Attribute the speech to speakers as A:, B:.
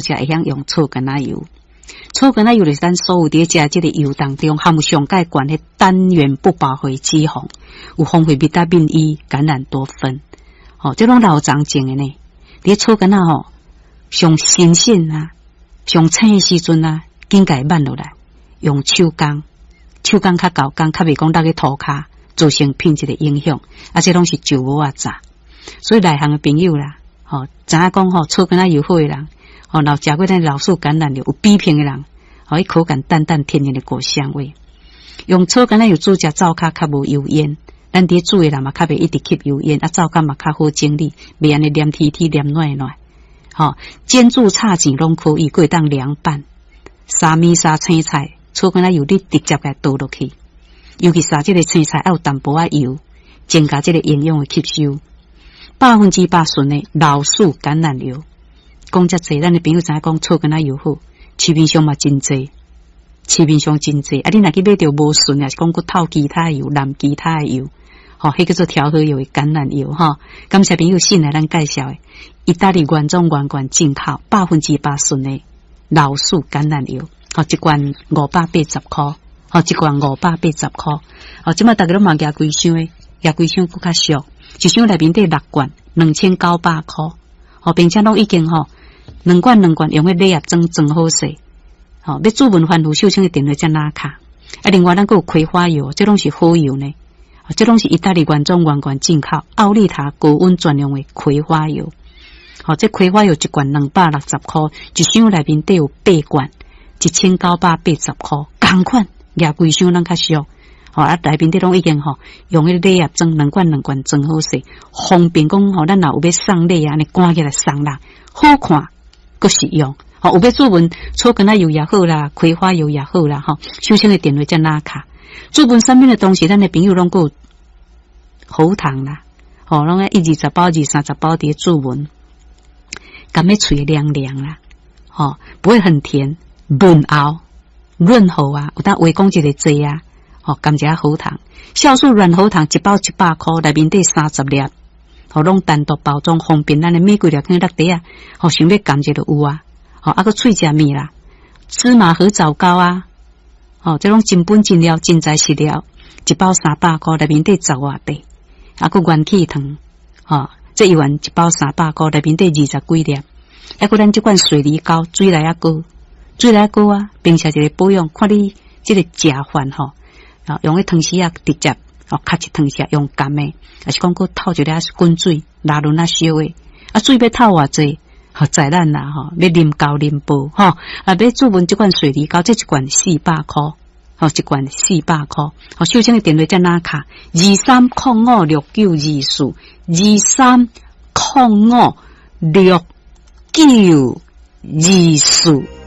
A: 才會曉用草柑仔油。草柑仔油就是咱所有佇咧食這个油當中，含有上蓋懸的單元不飽和脂肪，有豐富維他命 E、橄欖多酚。吼，這攏老張種的呢。佇草柑仔吼，上新鮮啊，上青的時陣啊，緊共伊挽落來，用手工，手工較厚工，較袂講落去塗跤，造成品質的影響。啊，這攏是石磨仔榨。所以內行的朋友啦，吼，知影講吼，草柑仔油好的人，吼，若食過咱老樹橄欖油有比拼的人，吼，伊口感淡淡天然的果香味。用草柑仔油煮食，灶跤較無油煙。咱佇煮的人嘛，較袂一直吸油煙，啊，灶跤嘛較好整理，袂按呢黏貼貼黏軟軟。吼，煎煮炒煎攏可以，閣會當涼拌。沙麵沙青菜，草柑仔油你直接共倒落去，尤其沙這个青菜愛有淡薄仔油，增加這个營養的吸收。100%純的老樹橄欖油，講遮濟，咱的朋友知影講草柑仔油好，市面上嘛真濟，市面上真濟。啊，你若去買著無純，抑是講閣透其他油、淋其他的油，吼，彼叫做調和油的橄欖油，吼。感謝朋友信來咱介紹的，意大利原裝原罐進口百分之百純的老樹橄欖油，吼，一罐580箍，吼，一罐五百八十箍。吼，這擺逐家攏嘛舉規箱的，舉規箱閣較俗，一箱內面底六罐，2900箍，吼，並且攏已經吼兩罐兩罐用彼禮盒裝裝好勢，吼，欲注文番予秀清的電話才拿卡。啊，另外咱閣有葵花油，這攏是好油呢，這攏是意大利原裝原罐進口奧利塔高溫專用的葵花油。吼，這葵花油一罐260箍，一箱內面底有八罐，1980箍，仝款，舉規箱攏較俗。吼，啊，內面底攏已經吼用彼禮盒裝兩罐兩罐裝好勢，方便講吼，咱若有欲送禮啊，按呢趕起來送人，好看，閣實用。吼，有欲注文草柑仔油也好啦，葵花油也好啦，吼，秀清的電話才拿卡。注文產品的同時，咱的朋友攏閣有喉糖啦，吼，攏愛一二十包、二三十包佇咧注文，含咧喙涼涼啦，吼，不會很甜，潤喉潤喉啊，有當話講一个濟啊。吼，含一下喉糖，酵素軟喉糖一包100箍，內面底30粒，吼，攏單獨包裝，方便咱的每幾粒放落袋啊，吼，想欲含一就有啊，吼，啊閣喙食物啦，芝麻核棗糕啊，吼，這攏真本真料，真材實料，一包300箍，內面底十外塊，啊閣元氣糖，吼，這一丸一包三百箍，內面底二十幾粒，啊閣咱這款水梨膏，水內仔膏，水內仔膏啊，平時一个保養，看你這个食法吼。用彼湯匙仔直接哦，敲一湯匙用含的，抑是講閣透一粒滾水，拉潤仔燒的，啊，水欲透偌濟，吼，在咱啦吼，欲啉厚啉薄吼，啊，欲注文這款水梨膏，這一罐400箍，吼，一罐四百箍，吼，秀清的電話才拿卡，23056924，23056924。